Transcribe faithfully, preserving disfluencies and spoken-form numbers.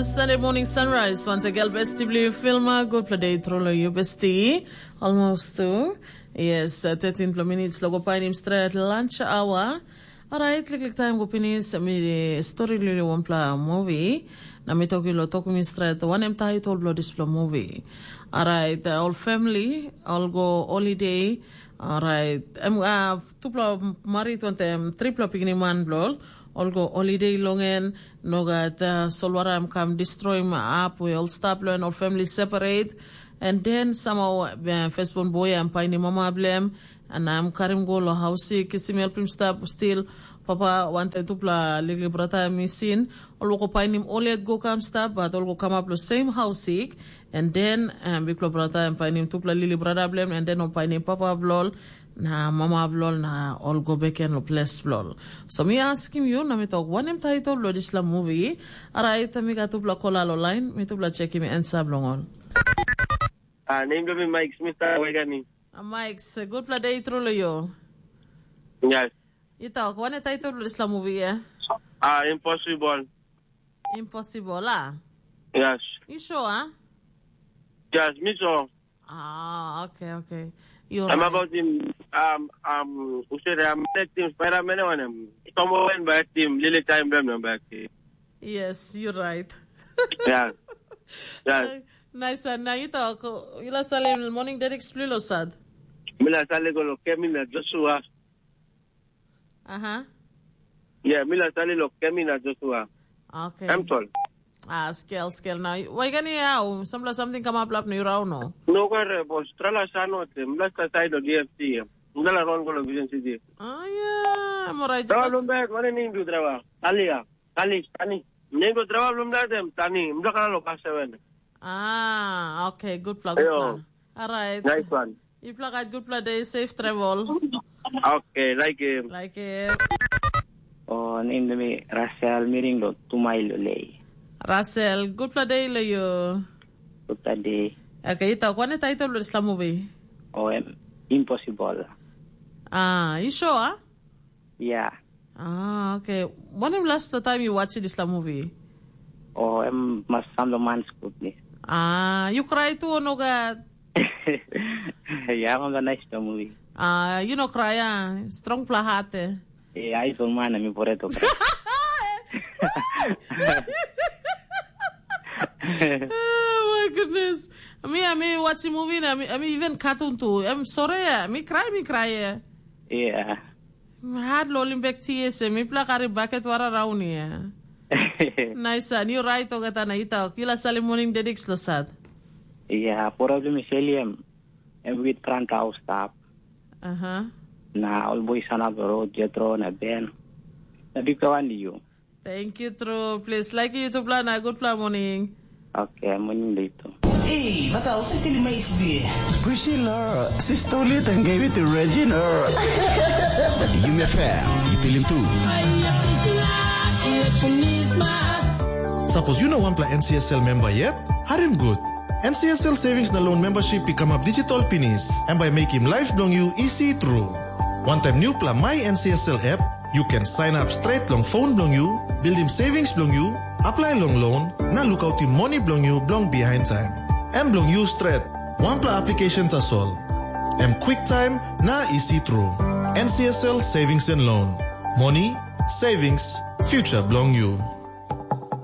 Sunday morning sunrise, once again, besti bli filma, gutpela day tru lo yu besti. Almost tu. Yes, uh, thirteen pla minutes lo go painim stret lunch hour. Alright, liklik time go pinis, mi story lili wanpela movie. Na mi toki lo toki mi stret, wanem title blo dispela movie. Alright, uh, all family, all go holiday. Alright, em uh, tupela marit wantem tripela pikini man blo ol go holiday long en, no gat uh, solwara em kam destroy em ap we ol stap lo en ol family separate. And then somehow uh, firstborn boy em painim mama bilem, and em karim go lo haus sik kisim helpim stap still. Papa wantaim tupela liklik brata em i sin, ol go painim ol yet go kam stap, but ol go kamap lo same haus sik. And then um, bikpela brata em painim tupela lili brata bilem, and then ol painim papa bilol, na mama bilol, na ol go beken lo ples bilol. So mi askim yu na mi tok, wanem title lo dispela movie? Alright, mi gat tupela kola lo line, mi tupela chekim ansa bilong ol. Ah, nem bilong mi Mike Smith, ah, Waigani. Ah, Mike, se gutpela day tru lo yu. Yes. I tok, wanem title lo dispela movie, eh? Ah, Impossible. Impossible, ah? Yes. You sure, ah? Yes, mi so. Ah, okay, okay. You're I'm right. About him, um, um, who said I'm acting Spider-Man on him. Someone by team, Lily Time, them, them back. Yes, you're right. Yeah. Yeah. Nice one. Now you talk. You la salim morning dedicts plilo sad. Mila Saligo lo Kemi na Joshua. Aha. Yeah, Mila Sali lo Kemi na Joshua. Okay. I'm tall. Ah, skel, skel. Now, why can you how? Some something come up lap ni rau no. No kare bos, trala sano te, mla sa side of D F C. Mla ron go lo Vision City. Ah, yeah, I'm alright. Trawa lumbek, mana ni du trawa? Talia, Tali, Tani. Nego trawa lumbek, Tani. Mla kala lo pasa wen. Ah, okay, good plug, good plug. All right. Nice one. Yupela gat gutpela day, safe travel. Okay, like him. Like him. Oh, nem de mi Rasel miring do tumai lo lei. Rasel, gutpela day lo you. Gutpela day. Okay, ita, kwane title lo dispela movie? Oh, em, Impossible. Ah, you sure? Ah? Yeah. Ah, okay. When the last time you watched this movie? Oh, em mas samlo man skut ni. Ah, you cry too, no God? Yeah, I'm a nice to movie. Ah, you no cry, ah. Strong pla heart, eh? Yeah, I told man, I'm important to cry. Oh my goodness. I mean, I mean, watching movie, I mean, I mean, even cartoon too. I'm sorry, eh? Mi cry, mi cry, eh? Yeah. Hat lo limbek ties, eh? Mi pla kari bucket wara rauni, eh? Nice, and you right, ogata na ita, kila sali morning dedicts lo sad. Yeah, problem is William. Em wit kran ka stap. Aha. Na ol boi sanap lo road, Jetro na Ben. Na bika wan di you. Thank you, True. Please like you to plan a good plan morning. Okay, morning dito. Hey, bata, usi stili mais bie. Priscilla, sister ulit and gave it to Regina. Yumi F M, you feel him too. Sapos yu no wanpela N C S L memba yet, harim gut. N C S L Savings na Loan Membership i kamap digital pinis. Em bai mekim life bilong yu isi tru. Wantaim newpela My N C S L app, yu ken sign up straight long phone bilong yu, buildim savings bilong yu, apply long loan, na lukautim moni bilong yu bilong behind time. Em bilong yu stret, wanpela application tasol. Em quick time na isi tru. N C S L Savings and Loan. Moni, savings, future bilong yu.